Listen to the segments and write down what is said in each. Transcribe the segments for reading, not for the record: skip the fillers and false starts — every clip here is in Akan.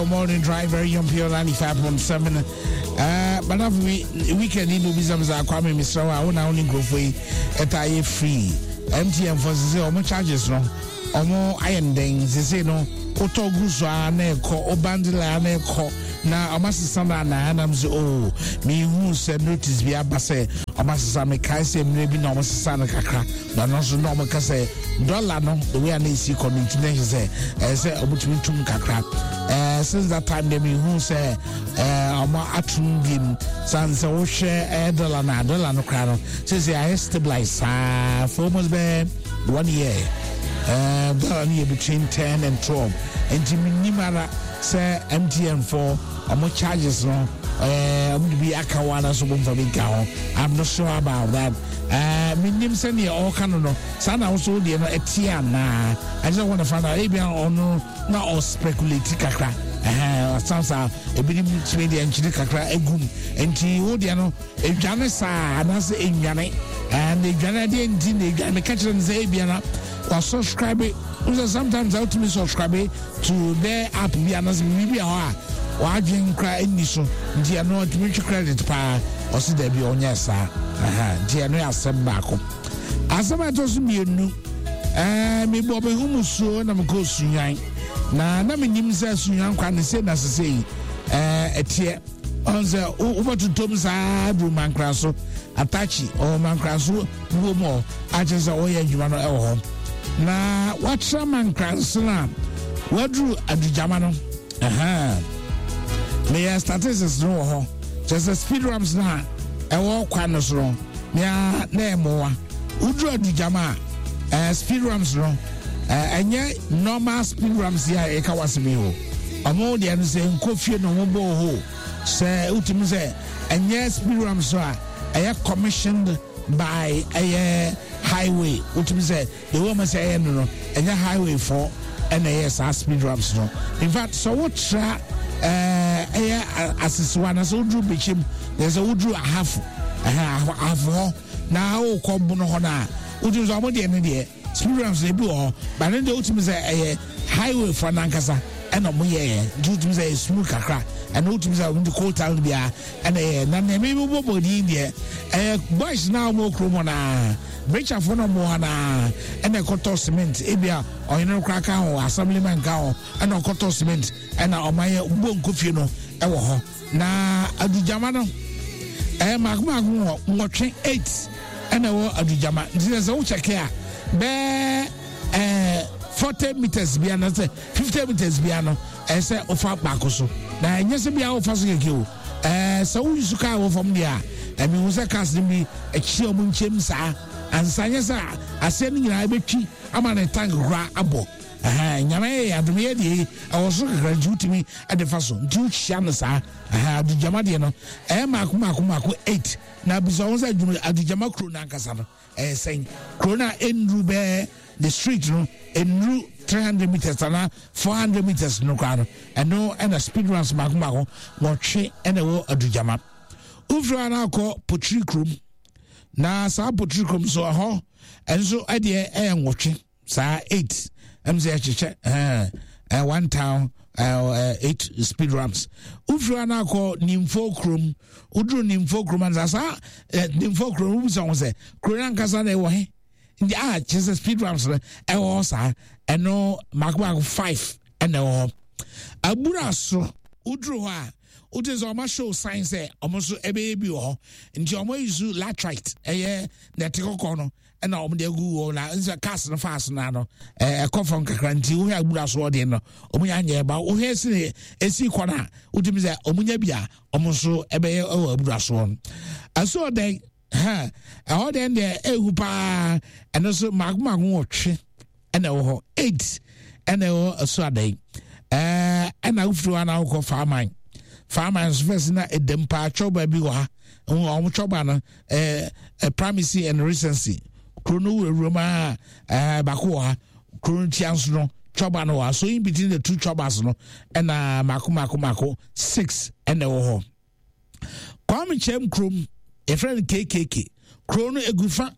Morning Drive, very young pure 95.7. But after we weekend, you know, bisa Kwame Mr. Wa, wona wo ne nkurɔfoɔ yi ɛta yɛ free. MTN for sese ɔmo charges no, ɔmo ayɛ ndɛn sese no, wotɔ gu so a na ɛkɔ, wo bundle a na ɛkɔ, na ɔmo asesa no anaa nam sɛ oh, mehu sɛ notice bi aba sɛ ɔmo asesa. Mekae sɛ mmerɛ bi na ɔmo sesa no kakra, na ɔno nso na ɔmo ka sɛ dollar no, the way a na esi kɔ no nti na ɛhyɛ sɛ ɛyɛ sɛ ɔmo tumi tum kakra. Since that time deɛ mehu sɛ ɔmo atum biem san sɛ wohwɛ dollar na dollar no koraa no sɛ ayɛ stabilize saa for almost bɛɛ one year. Dollar no yɛ between 10 and 12, nti menim ara sɛ MTN for ɔmo charges no, ɔmo de bi aka ho anaasɛ ɔmo mfa bi nka ho. I'm not sure about that. Menim sɛdeɛ ɔreka no, saa na woso deɛ no ɛte anaa. I just want to find out, ebia ɔno na ɔspeculate kakra, ɛhɛn ɔsan saa ebinom tumi deɛ nkyene kakra egum, nti wo deɛ no edwane saa anaasɛ enwane ɛɛ na edwane adeɛ nti na edwane. Meka kyerɛ no sɛ ebia na wasubscribe n sɛ sometimes a wotumi subscribe to bɛɛ app bi anaasɛ biribi a hɔ a wadwen kora nni so, nti ɛno ɔtumi twe credit paa. Ɔsi dɛbi, ɔnyɛ saa. Nti ɛno yɛ asɛm baako. Asɛm a ɛtɔ so mmienu, mebɔ me ho musuo na mekɔ Sunyan na menim sɛ Sunyan kwa ne se na sese yi ɛteɛ ɔn sɛ wobɛtotom saa duru Mankra so atachi ɔwɔ Mankra so buo mu hɔ akyerɛ sɛ ɔyɛ adwuma no ɛwɔ hɔ na wakyerɛ Mankra so no a waduru Adugyama no. Meyɛ statistics no wɔ hɔ kyerɛ sɛ speed ramps no a ɛwɔ kwan no so no nea na ɛmmoa woduru Adugyama a, speed ramps no, ɛnyɛ normal speed ramps yi a ɛka wasɛm yi o. Ɔmo deɛ no sɛ nkɔ fie na ɔmo bɔ hɔ sɛ wotumi sɛ ɛnyɛ speed ramps so a ɛyɛ commissioned by ɛyɛ highway. Wotumi sɛ the way ɔmo sɛ ɛyɛ no, ɛnyɛ highway fɔ ɛna ɛyɛ saa speed ramps no. In fact, sɛ wotra ɛyɛ Asisiwa na sɛ woduru Bɛkyɛm na sɛ woduru Ahafo, ɛhɛn Ahafo hɔ na wokɔ Bono hɔ no a, wotumi sɛ ɔmo deɛ no deɛ speed ramps no ebi wɔ hɔ ba ne deɛ wotumi sɛ ɛyɛ highway fɔ nankasa ɛna ɔmo yɛɛ, nti wotumi sɛ ɛyɛ smooth kakra. Ɛna wotumi sɛ ɔmo de coal tar no biara ɛna ɛyɛ na nea mi bɔ bɔ din deɛ ɛyɛ boys na ɔmo kurom hɔ naa brekyafoɔ na ɔmo hɔ naa ɛna ɛkɔtɔ cement, ebia ɔhene no koraa ka ho, assemblyman ka ho, ɛna ɔkɔtɔ cement ɛna ɔmo ayɛ bɔ nkofie no ɛwɔ hɔ. Na Adugyama no ɛyɛ mako mako wɔ 8, 8 ɛna ɛwɔ Adugyama, nti sɛ wokyɛke a bɛɛ 40 meters bia na sɛ 50 meters bia no ɛyɛ sɛ wofa baako so, na ɛnyɛ sɛ bia wofa so kɛkɛ o. Sɛ woyi so kaa wɔ fam deɛ a, ɛmi hu sɛ cars no bi akyi a ɔmo nkyɛm saa ansa nyɛ sɛ aseɛ no nyinaa ɛbɛtwi ama ne tank koraa abɔ. Ɛhɛn Nyame yɛ adom yɛ deɛ ɛwɔ so kakra nti wotumi ɛde fa so, nti wohyia no saa. Ɛhɛn Adugyama deɛ no ɛyɛ mako mako mako 8, na bisa wɔn sɛ adwuma Adugyama kuro no ankasa no ɛyɛ sɛn kuro no a ɛnnuru bɛɛ the street no ɛnnuru 300 meters anaa 400 meters no koraa no, ɛno ɛna speed ramps mako mako 8 ɛna ɛwɔ Adugyama. Wofiri hɔ no akɔ Potiri kurom, na saa Potiri kurom so ɛhɔ ɛnso ɛdeɛ ɛyɛ 8 saa, 8 ɛm sɛ ɛhyehyɛ ɛɛ ɛɛ one town 8 speed ramps. Wofiri hɔ no akɔ Nimfo kurom, woduru Nimfo kurom ansa saa Nimfo kurom, wobisa ho sɛ kuro no ankasa na ɛwɔ he nti a kyerɛ sɛ speed ramps no ɛwɔ hɔ saa, ɛno mako mako 5 ɛna ɛwɔ hɔ. Abura so woduru hɔ a, wote sɛ ɔma show sign sɛ ɔmo nso ɛbɛyɛ bi wɔ hɔ, nti ɔmo ayi so latrite, ɛyɛ nɛte kɔkɔɔ no ɛna ɔmo de agu hɔ, na nsɛ cars no faas na no ɛkɔ fam kakra, nti wohwɛ Abura so ɔdeɛ no ɔmo nya nyɛ ba. Wohwɛ esi ne esi kɔ no a, wotumi sɛ ɔmo nya bi a ɔmo nso ɛbɛyɛ ɛwɔ Abura soɔ no ɛso ɔdɛn ha ɛhɔ deɛ deɛ ehu paa. Ɛno nso mako mako 8 ɛna ɛwɔ hɔ, 8 ɛna ɛwɔ ɛso adan. Ɛna wofiri hɔ na wokɔ Faaman. Faaman nso fɛs na ɛdɛm paa, twɛwba bi wɔ ha, wɔn twɛwba no ɛɛ primacy and recency kuro no wurawura mu a baako wɔ ha, kuro no tia nso no twɛwba no wɔ ha, so in between the two twɛwbas no ɛna mako mako mako 6 ɛna ɛwɔ hɔ. Kwame Kyɛm kurom, yɛfrɛ no KKK kuro no, egu fa.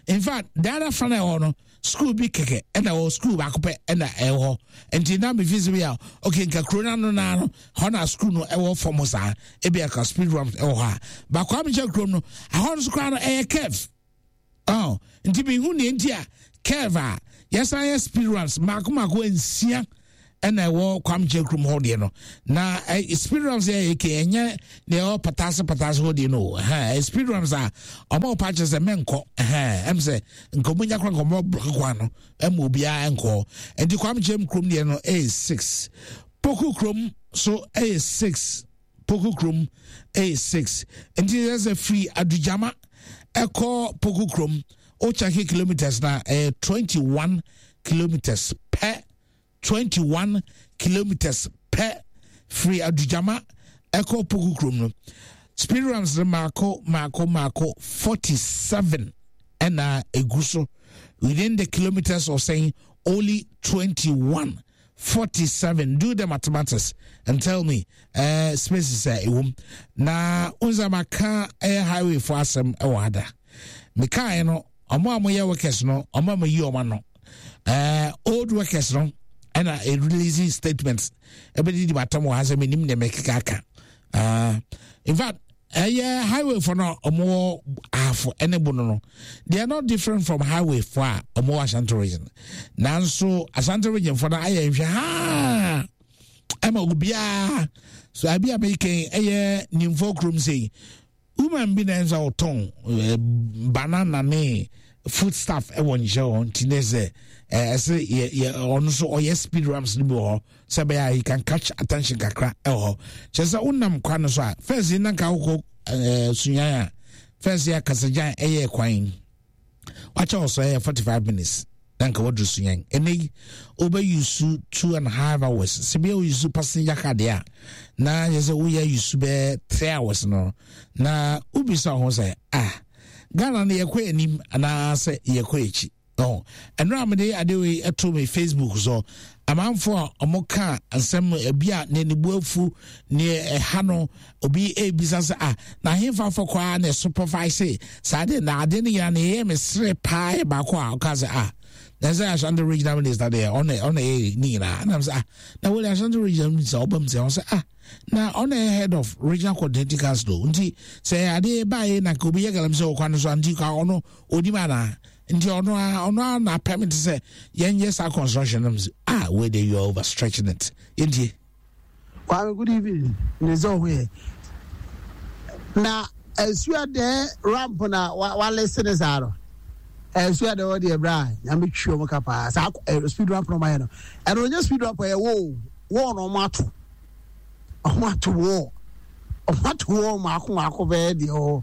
In fact, the other fa na ɛwɔ no. school bi kɛkɛ ɛna ɛwɔ school baako pɛ ɛna ɛwɔ hɔ nti na mefi sɛ bi a okay nka kuro no ano naa no hɔ na school no ɛwɔ fam saa ebi aka speed ramp ɛwɔ hɔ a baako a mekyɛ kurom no ahɔ no so koraa no ɛyɛ curve oh nti mehu nea nti a curve a yɛsan yɛ speed ramps mako mako nsia ɛna ɛwɔ kwamkyɛ kurom hɔ deɛ no na eh, speed ramps yɛ eke ɛnyɛ deɛ ɛwɔ pataase pataase hɔ deɛ no ɛhɛn speed ramps a ɔmo ɔpa kyerɛ sɛ mɛnkɔ ɛhɛn ɛm sɛ nkɔmɔ nya kora nkɔmɔ blɔk kwan no ɛma obiara nkɔ nti kwamkyɛ kurom deɛ no ɛyɛ six poku kurom so ɛyɛ six poku kurom ɛyɛ six nti yɛ sɛ firi adugyama ɛkɔ poku kurom o kyɛke kilometers na ɛyɛ 21 kilometers pɛ 21 kilometers pɛ firi adugyama ɛkɔ poku kurom no speed ramps no maako maako maako 47 ɛna egu so within the kilometers of saying only 21 47 do the mathematics and tell me uh, spaces a ɛwom na wonsa maka ɛyɛ highway fo asɛm ɛwɔ ada mekaeɛ no ɔmo a moyɛ workers no ɔmo a moyi ɔmo ano uh, old workers no ɛna release statements ɛbɛdidi matam wɔ ha sɛ menim deɛ mɛkeka aka uh, in fact ɛyɛ highway fo no ɔmo wɔ ahafo ɛne bono no they are not different from highway fo a ɔmo wɔ ashanti region nanso ashanti region fo no ayɛ nhwɛ haa ɛma obiara so abi a mekɛn ɛyɛ nimfo kurom sei woman bi na ɛnso a ɔtɔn eh, banana ne food stuff ɛwɔ nhyɛ hɔ nti ne sɛ ɛsɛ yɛ yɛ ɔno nso ɔyɛ speed ramps no bi wɔ hɔ sɛ ɛbɛyɛ a you can catch attention kakra ɛwɔ hɔ kyerɛ sɛ wonam kwan no so a first yi nanka wokɔ ɛɛ sunyan a first yi akasagyan ɛyɛ kwan wakyɛ wɔ so ɛyɛ 45 minutes na nka waduru sunyan ɛnɛ yi wobɛyusu two and a half hours sɛ bia woyusu passenger car deɛ a na yɛ sɛ woyɛ yusu bɛɛ three hours no na wobisa ho sɛ ah ghana no yɛkɔ anim anaasɛ yɛkɔ akyi Oh, ɛno a mede ade wei ɛto me facebook so amanfo a wɔn ka nsɛm ebi a ne ne bu afu ne ɛha no obi ebisa sɛ ah na ahemfa fɔ koraa na supervise saa de na ade no nyinaa na ɛyɛ me sere paa yɛ baako a ɔka sɛ ah na sɛ ashanti regional minister deɛ ɔna ɔna ɛyɛ ne nyinaa ɛna sɛ ah na wɔde ashanti regional minister ɔba mu sɛ ɔsɛ ah na ɔna ɛyɛ head of regional coordinating council nti sɛ adeɛ baayɛ na obi yɛ galamsey wɔ kwan so nti ka ɔno onim anaa nti ɔno a ɔno a na permit sɛ yɛnyɛ saa construction no ah wei de you are overstretching it yɛntie. Kwame good evening ne sɛ ɔho yɛ na asua dɛ ramp na walese ne saa no asua dɛ ɔde ɛbrɛ a nyame twi ɔmo ka paa saa speed ramp na ɔmo ayɛ no ɛno ɔnyɛ speed ramp ɛyɛ wall wall na ɔmo ato Ɔmo ato wɔɔ. Ɔmo ato wɔɔ mako mako bɛyɛ deɛ ɔwɔ.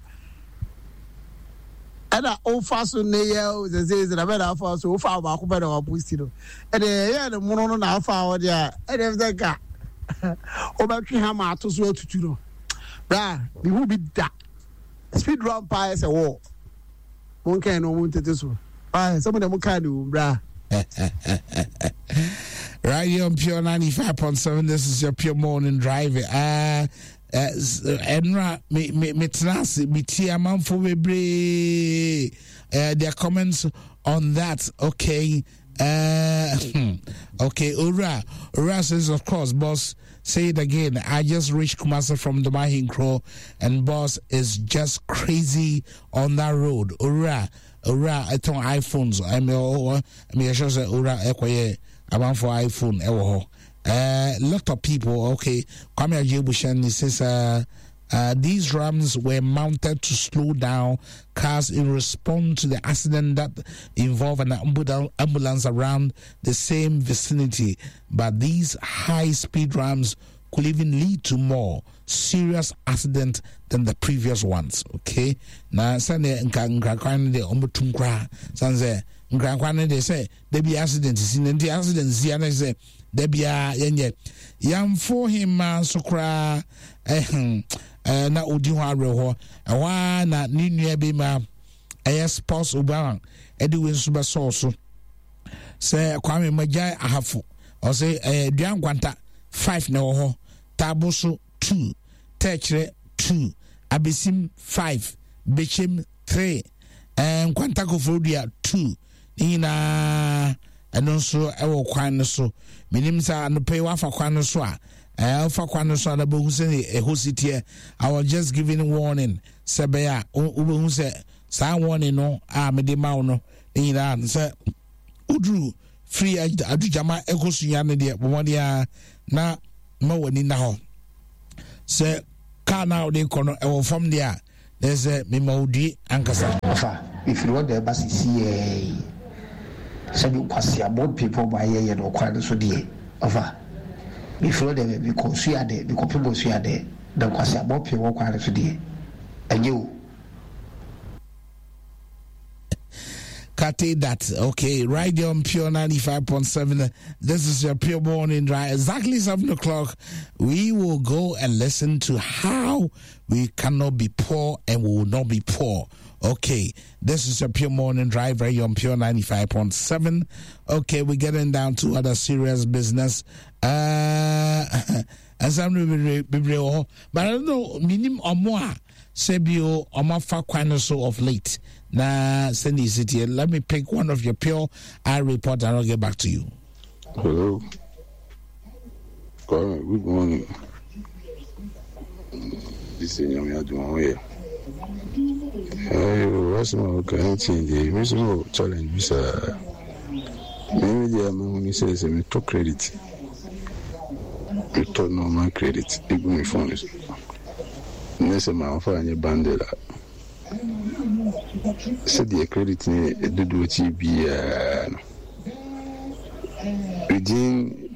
Ɛna ofa so ne yɛ o sɛ sɛ sɛ na bɛ na afa so ofa baako pɛ na waposti no. Ɛna ɛyɛ ne mono no na afa hɔ deɛ a ɛna sɛ nka wobɛtwe hama ato so atutu no. Bra mehu bi da. Speed run paa yɛ sɛ wɔɔ. Monkae no ɔmo ntete so. Why? Sɛ mo deɛ mo kaa ne wom bra. Right here on Pure 95.7, this is your Pure Morning Drive. Uh, ɛnora me me me tena ase me tie amanfo bebree uh, their comments on that okay uh, okay owura owura says of course boss say it again i just reached kumasi from the Mahinkro and boss is just crazy on that road owura owura ɛtɔn iphones ɛmɛ ɔwɔ ɛmɛ yɛ sure sɛ owura ɛkɔyɛ amanfo iphone ɛwɔ hɔ ɛɛ lot of people okay kwame agyebushan says uh, uh, these rams were mounted to slow down cars in response to the accident that involved an ambulance around the same vicinity. But these high speed rams could even lead to more serious accident than the previous ones. Okay. Na sɛdeɛ nka nkrakwan no deɛ ɔmo tum koraa san sɛ nkrakwan no deɛ sɛ dabi accident si na nti accident si ana sɛ dabi a yɛnyɛ yamfo hema nso koraa ɛhɛn ɛɛ na odi ho awerɛhɔ ɛhɔ ara na ne nua bi ma ɛyɛ sports obama ɛde wei nso bɛsɔɔ so sɛ kwame magyae ahafo ɔsɛ ɛɛ dua nkwanta five na ɛwɔ hɔ taabo so two tɛkyerɛ two abesim five bekyem three ɛɛ nkwanta koforodua two. Ne nyinaa ɛno nso ɛwɔ kwan no so. Menim sɛ anɔpa yi wafa kwan no so a, ɛɛ wofa kwan no so a na bɛhu sɛ ɛhɔ si teɛ. I was just giving warning sɛ bɛyɛ a wobɛhu sɛ saa warning no a mede ma wo no ne nyinaa no sɛ woduru firi adugyama ɛkɔ sunya no deɛ bɔ mmɔden ara na ma w'ani nna hɔ sɛ kaa no a wode kɔ no ɛwɔ fam deɛ a na ɛsɛ mema wo due ankasa. Ɔfa, mefiri hɔ na ɛba seseiara yi. Sɛdeɛ nkwaseammɔ mpempɔn mu ayɛ yɛn ɔkwan no so deɛ, ɔfa, mefiri hɔ na ɛba, mekɔ Suadɛ, mekɔpem wɔ Suadɛ, na nkwaseammɔ mpem wɔ kwan no so deɛ, ɛnyɛ o. Kate that. Okay, right there on Pure 95.7. This is your Pure Morning Drive. Exactly 7 o'clock, we will go and listen to how we cannot be poor and we will not be poor. Okay, this is your Pure Morning Drive right here on Pure 95.7. Okay, we're getting down to other serious business. Uh, and some but I don't know, minim or Sɛ bio ɔmo afa kwan no so of late na sɛnea esi teɛ. Let me pick one of your pure eye report and I'll get back to you. Hello. Kwame, good morning. This is Nyame adom ho yɛ. Ayo, asɛm a woka ɛnkyɛn deɛ, me nso mewɔ challenge bi saa. Me me deɛ mahu ne sɛ sɛ metɔ credit, metɔ normal credit egu me phone so. Nyɛ sɛ mamfa anyɛ bundle a, sɛdeɛ credit no yɛ dodoɔ teɛ biara no, within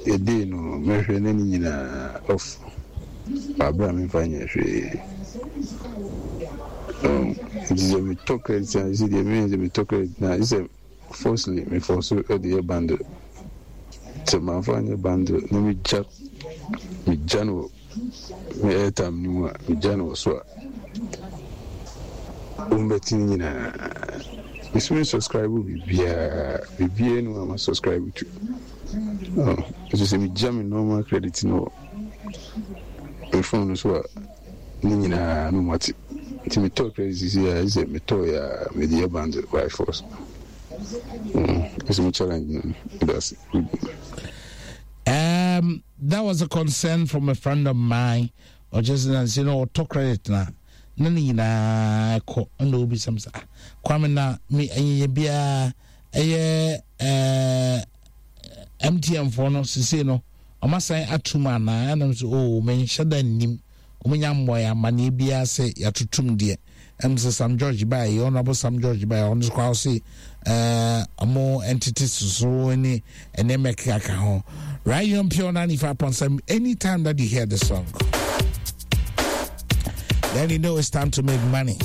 a day no mɛhwɛ na ne nyinaa off wɔ aberɛ a memfa nyɛ hwee. Nti sɛ metɔ credit a, sɛ deɛ meyɛ sɛ metɔ credit no a, sɛ Firstly me force de yɛ bundle sɛ manfa anyɛ bundle na me gya me gya no wɔ me airtime no mu a me gya no wɔ so a wɔn bɛte ne nyinaa me so me subscribe biribiara biribiara nu a ma subscribe to oh nso sɛ me gya me normal credit no wɔ me phone no so a Ne nyinaa no mate. Nti me tɔɔ credit sisi a ɛsɛ me tɔɔ yɛ a me de yɛ bundle by force. Mm, ɛsɛ me challenge no. That's good. Um, that was a concern from a friend of mine. Or just na say no ɔtɔ credit na na ne nyinaa kɔ ɛna obi sɛm sɛ ah kwame na me ɛnyɛ biara ɛyɛ ɛɛ MTN foɔ no sisi no. Wɔasan atom anaa? Ɛna nso, oh, menhyɛ da nnim. Wɔnya mmɔe amanneɛ biara sɛ yɛatotom deɛ. Ɛm sɛ Sam George baeɛ, Honorable Sam George baeɛ, ɔno nso koraa ɔse ɛɛ ɔmo ntete soso ne nneɛma ɛkeka ho. Right here on Pure 95.7, anytime that you hear the song, then you know it's time to make money.